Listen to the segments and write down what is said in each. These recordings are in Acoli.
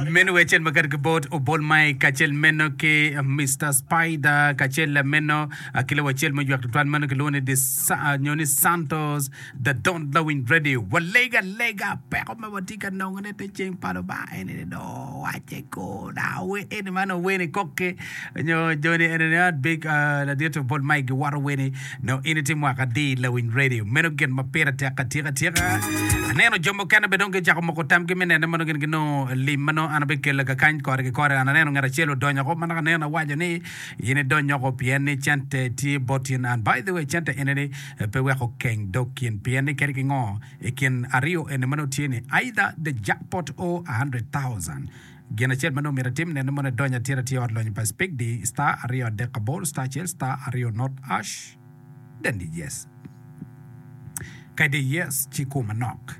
Meno wek acel ma kati ki bot Obol Mike kacel meno ki Mister Spider kacel meno ki lawor acel ma oywek tutwal meno kilwongo ni nyo ni Santos The Don Lawiny Radio. Walega alega peko ma watye ka nongone te ceng pa Lubanga eni ni dong wacce ko da we eni man oweni kokki nyo joni eni ni ot big ladit Obol Mike giwoto weni nongo in itye mwaka adi Lawiny Radio. Meno gin ma pire tek atika tika. Aneno jo mukene bene dong gicako moko tamgi me nene ma nongo gin ginongo lim ma nongo an abikelo kakany kore ki kore. An aneno ngat acel odonyo oko ma naka aneno awaco ni in idony oko pien ni cente tye bot in. And by the way cente eni ni pe weko keng dog kin pien ni kadi ki ngo i kin aryo eni ma nongo tye ni either the jackpot or 100,000. Gin acel ma nongo myero atim nene mono idony atir atir i ot lonyo pa Spigdi star aryo adek aboro star acel star aryo not ash then di yes. Ka idi yes ci ikur manok.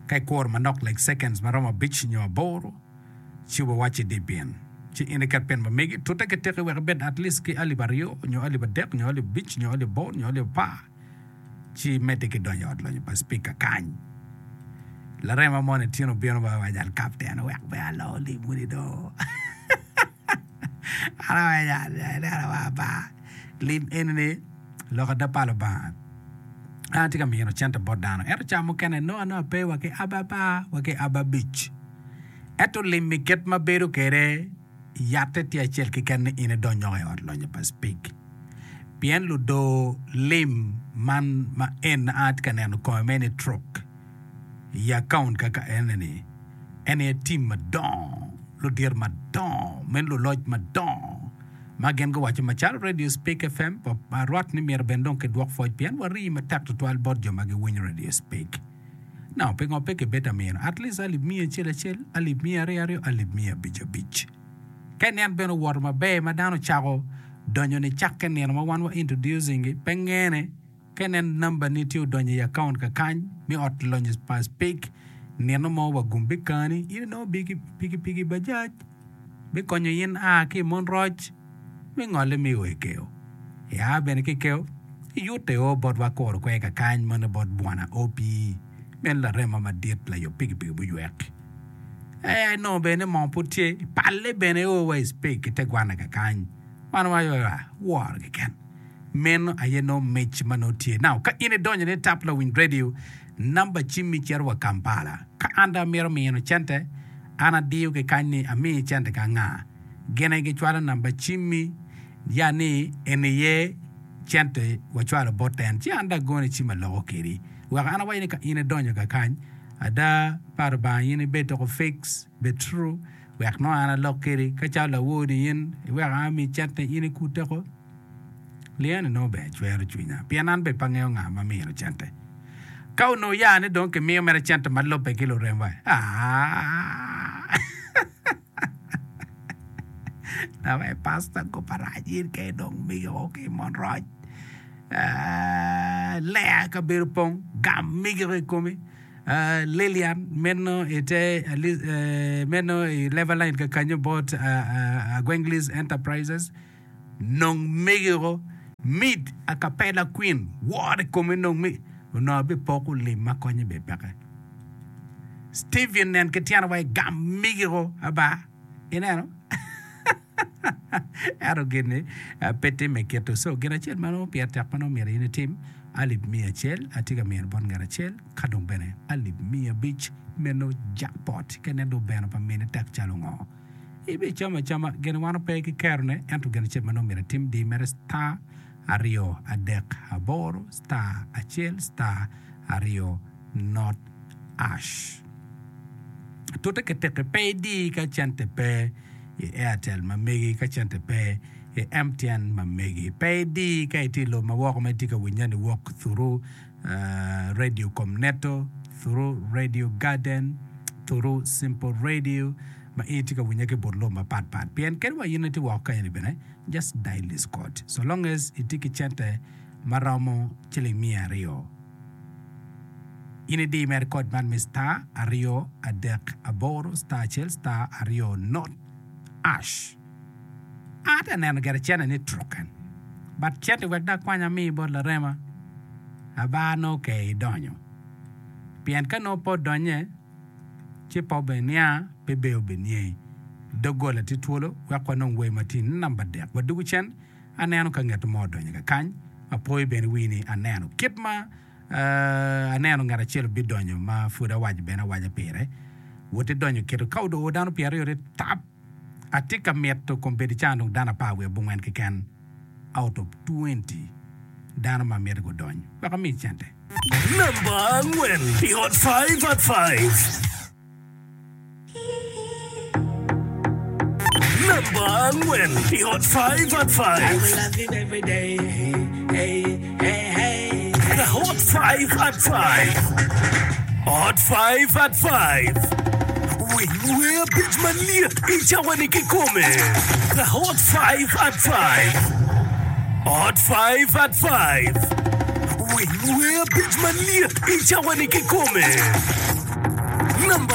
Ka ikuro manok like seconds ma romo abic nyo aboro ci obiwacci di bin. Ci in iket pin ma megi tute ki teki wek ibed at least ki alip aryo nyo alip adek nyo alip abic nyo alip aboro nyo alip apar. ci imedde ki donyo i ot lonyo pa cipika kany. Larema moni tyen obino ba owaco al kapten wek pe alo limuni do. An awaco ineno wa ba lim eni-ni lok ada pa Lubanga. An atye ka mino cente bot dano ento ca mukene nongo anongo ape wa ki aba apar wa ki aba abic. Ento lim-mi kit ma bedo kwede yatte tye acel keken ni in idony woko i ot lonyo pa cipik. Pien ludor lim man ma en a tye ka neno kome mere ni truk i akaunt kaka ene-ni, en aye tim madongo, ludito madongo, meno luloc madongo ma gin guwaco macalo Radio Speak FM arwat ni myero bene dong kidwok pwoc pien warii matek tutwal bot jo ma giwinyo Radio Speak. Now, pingo pe kibed amino at least alip miya acel acel, alip miya aryo aryo, alip miya abic abic? Ka inen bene owoto maber ma dano ocako donyo nicakke nino ma wan wa introducing gi pe ngene ka inen number ni tye odonyo i account kakany me ot lonyo pa spik nino mo wa gum bikani in inongo pikipiki bajaj bikonyo in a ki i mon roc me ngole me o i keo ia bene ki keo iyute o bot wa kuro kwer kakany meno bot bwana OP meno larema madit layub pikipiki muywek. Ee, inongo bene ni moo pud tye, palle bene o wa i spik i te gwanne kakany. Wan waco ni, Ah, woro keken. Meno aye nongo mic ma nongo tye. Now, ka in idonyo ni tap lawiny radio, namba cimmi cito wa Kampala. Ka an dong amito mino cente, an adiyo ki kany ni ami cente ki anga. Gin aye gicwalo namba cimmi, ya ni eni aye cente wacwalo bot en. Ci an dong agone cim aloko kedi. Wek an awaci ni ka in idonyo kakany, Ada pa Lubanga in ibed doko fix, bed true, wek nongo an alok kedi ka calo lawor ni in iweko an ami cente in ikute ko. Liane nongo ber cwero cwinya pien an bene pe angeyo nga ma mino cente. Ka onongo ya ni dong kimiyo mere cente ma lubbe ki luremwa, aah Lawe pastor goba rac in ka idong migi o ki mon roc. Lea kabedo pong gam migi i komi. Lilian meno ite meno i level line kakanyo bot Agwenglis Enterprises nong migi o mid acapella queen wor i komi nong migi onongo abipoko lim ma konye bene peke. Steven nen ki tyene wa i gam migi o aba. Ineno? Ento gin-ni pe timme kit-tu. So, gin acel ma nongo pire tek ma nongo myero in itim, alip miya acel atye ka mino bot ngat acel, ka dong bene alip miya abic meno jackpot. Ka inen dong obeno pa mine tek calo ngo, ibicamo acama. Gin wan ope ki kerone, ento gin acel ma nongo myero itim, di mere star aryo adek aboro star acel star aryo not ash. Tute ki teki pe idi ka cente pe i Airtel ma megi, ka cente pe i MTN ma megi. Pe idi ka itye i lobo ma woko ma itye ka winye ni wok through Radio Comneto, through Radio Garden, through Simple Radio ma in itye ka winye ki but lobo mapat pat. Pien kadi wa in itye woko kany-ni bene, just dial this code. So long as itye ki cente ma romo ciling miya aryo. In idi mere kod man me star aryo adek aboro star acel star aryo not ash. An atye ka neno gire cene ni truken but cente wek dong akwany ami bot larema abar nongo ke idonyo pien ka nongo pe odonye. Ci pe obiniang, pe be obiniangi. Doggola tye twolo wek wanong wer ma tye i namba dek. Wadwogo cen, aneno ka ngat mo odonyo kakany. Apoyo bene wi ni aneno kit ma aneno ngat acel obidonyo ma pud awaco bene awaca pire. Wot idonyo kito ka odoo dano pyeraryo ni tap! Atye ka mito kombeddi ca dong dano apar wiye abongwen keken out of 20 dano ma mito gudony wek ami cente. Namba angwen i Hot Five at Five. Namba angwen i Hot Five at Five. The Hot Five at Five. Hot Five at Five. Winy wer abic malyet i cawa-ni kikome. The Hot Five at Five. Hot Five at Five. Winy wer abic malyet i cawa-ni kikome.